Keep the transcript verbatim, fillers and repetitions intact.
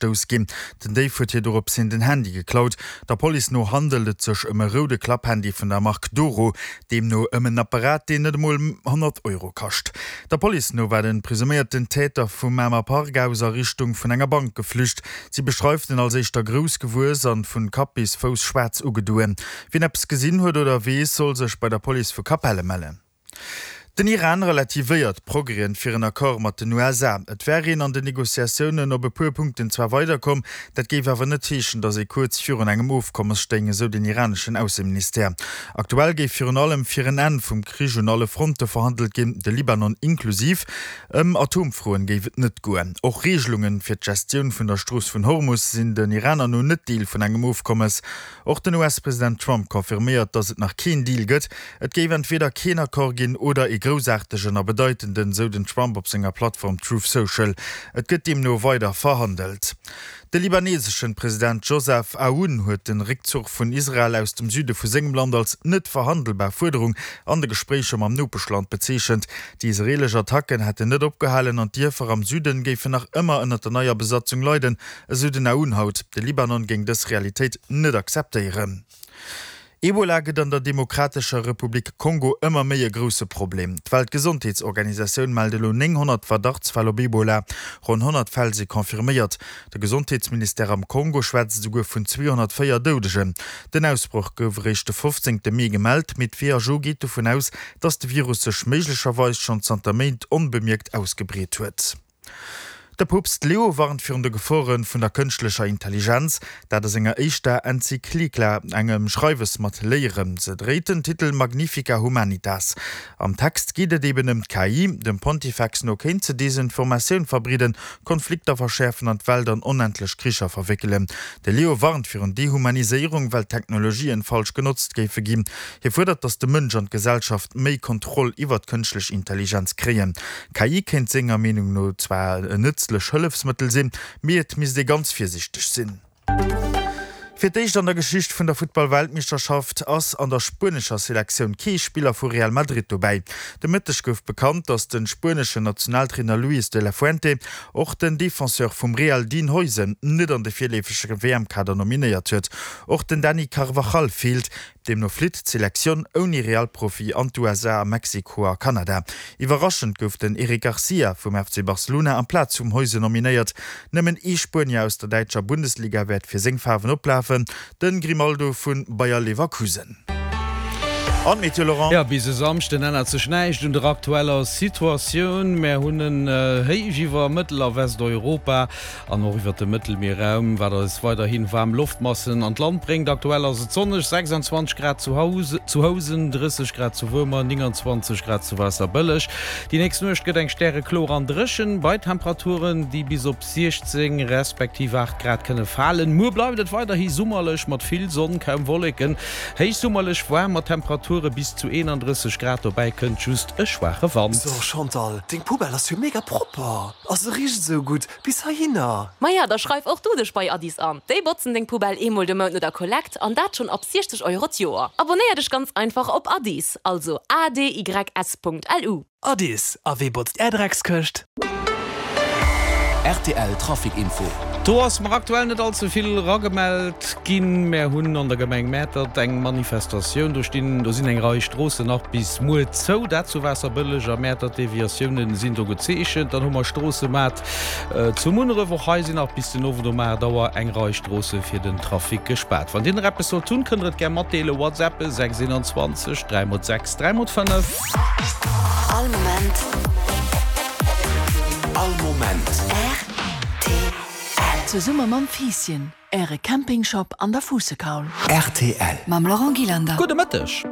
Gestouss ginn. Den Déif huet hir dorops hin den Handy geklaut. Der Police no handelt et sech ëm e roude Klapphandy vun der Mark Doro, deemno ëm en Apparat, deen net emol honnert Euro kascht. Der Police no war de presuméierten Täter vum Mamer Park aus a Richtung vun enger Bank geflücht. Si beschreift en als éischter grouss gewuess an vun Kapp bis Fouss schwaarz ugedoen. Wien eppes gesinn huet oder weess, soll sech bei der Police vu Capellen mellen. Den Iran relativéiert d'Progrèsen fir en Accord mat den U S A. Et wär een an den Negociatiounen op e puer Punkten zwar weiderkomm, dat géif awer net heeschen, datt ee kuerz virun engem Ofkommes stéing, esou den iraneschen Ausseministère. Aktuell géif virun allem fir en Enn vum Krich un alle Fronte verhandelt ginn, de Libanon inklusiv. Ëm Atomfroen géif et net goen. Och Reegelungen fir d'Gestioun vun der Strooss vun Hormus sinn den Iraner no net Deel vun engem Ofkommes. Och den U S-President Trump confirméiert, datt et nach keen Deal gëtt. Et géif entweder keen Accord ginn oder ee groussaartegen a bedeitenden, sou den Trump op senger Plattform Truth Social. Et gëtt deemno weider verhandelt. De libaneseschen President Joseph Aoun huet den Réckzuch vun Israel aus dem Süde vu sengem Land als net verhandelbar Fuerderung an de Gespréicher mam Nopeschland bezeechent. Déi israelesch Attacken hätten net opgehalen an d'Dierfer am Süden géifen nach ëmmer ënner der neier Besatzung leiden, esou den Aoun haut. De Libanon géing dës Realitéit net akzeptéieren. Ebola gëtt an der Demokratescher Republik Kongo ëmmer méi e grousse Problem. D'Weltgesondheetsorganisatioun mellt elo nénghonnert Verdachtsfäll op Ebola. Ronn honnert Fäll si confirméiert. De Gesondheetsministère am Kongo schwätzt esouguer vun zweehonnertvéier Doudegen. Den Ausbroch gouf eréischt de fofzéngte Mee gemellt, mee d'W H O geet dovun aus, datt de Virus sech méiglecherweis schonn zanter Méint onbemierkt ausgebreet huet. De Poopst Leo warnt virun de Gefore vun der kënschtlecher Intelligenz, dat a senger éischter Enzyklika, engem Schreiwes mat Léieren. Se dréit den Titel Magnifica Humanitas. Am Text geet et eben ëm d'K I. Dem Pontifex no kéint se Desinformatioun verbreeden, Konflikter verschäerfen an d'Welt an onendlech Kricher verwéckelen. De Leo warnt virun Dehumaniséierung, well d'Technologien falsch genotzt géife ginn. Hie fuerdert, datt de Mënsch an d'Gesellschaft méi Kontroll iwwer d'kënschtlech Intelligenz kréien. K I kéint senger Meenung no zwar en nëtzlech Hëllefsmëttel sinn, mee et misst ee ganz virsiichteg sinn. Fir d'éischt an der Geschicht vun der Futtball-Weltmeeschterschaft ass an der spuenescher Selektioun kee Spiller vu Real Madrid dobäi. De Mëtteg gouf bekannt, datt de spueneschen Nationaltrainer Luis de la Fuente och den Defenseur vum Real Dean Huijsen net an de virleefege W M-Kader nominéiert huet. Och den Dani Carvajal feelt. Deemno flitt d'Selektioun ouni Real-Profi an d'U S A, a Mexiko a Kanada. Iwwerraschend gouf den Eric Garcia vum F C Barcelona amplaz vum Huijsen nominéiert. Nëmmen ee Spuenier aus der däitscher Bundesliga wäert fir seng Faarwen oplafen, de Grimaldo vu Bayer Leverkusen. An d'Meteo, Laurent? Jo, bis e Samschden ännert sech näischt un der aktueller Situatioun. Mär hunn en Héich iwwer Mëttel a Westeuropa an och iwwert dem Mëttelmierraum, wat eis weiderhi waarm Loftmassen an d'Land bréngt. Aktuell ass et sonneg, sechsanzwanzeg Grad zu Housen, drësseg Grad zu Wuermer, nénganzwanzeg Grad zu Waasserbëlleg. Déi nächst Nuecht gëtt eng stärekloer an dréchen, bei Temperaturen, déi bis op siechzéng respektiv aacht Grad kënne falen. Muer bleift et weiderhi summerlech mat vill Sonn, kaum Wolleken, héichsummerlech waarm mat Temperature bis zu eenandrësseg Grad, dobäi kënnt just e schwaache Wand. So Chantal, deng Poubelle ass jo mega propper a se richt esou gutt bis heihinner. Maja, da schreif och du dech bei Adys an. Déi botzen deng Poubelle eemol de Mount no der Kollekt an dat schonn ab siechzeg Euro d'Joer. Abonéier dech ganz einfach op Adys, also A D Y S Punkt L U. Adys, a wee botzt är Dreckskëscht? R T L Trafic Info. Do ass mer aktuell net all ze vill eragemellt ginn. Mär hunn an der Gemeng Mäertert eng Manifestatioun. Do stinn, do sinn eng Rei Stroossen nach bis muer zou. Dat zu Waasserbëlleg a Mäertert. Deviatiounen sinn do gezeechent. Dann hu mer Stroossemaart zu Munneref. Och hei sinn nach bis den Owend um aacht Auer eng Rei Stroosse fir den Trafic gespaart. Wann Dir nach eppes sollt hunn, kënnt Der et gär matdeelen. WhatsApp sechs eenanzwanzeg dräi mol sechs dräi mol fënnef. All Moment. All Moment. R T L. Zesumme mam Fiisschen, Äre Campingshop an der Fuussekaul. R T L. Mam Laurent Gillander. Gudde Mëtteg.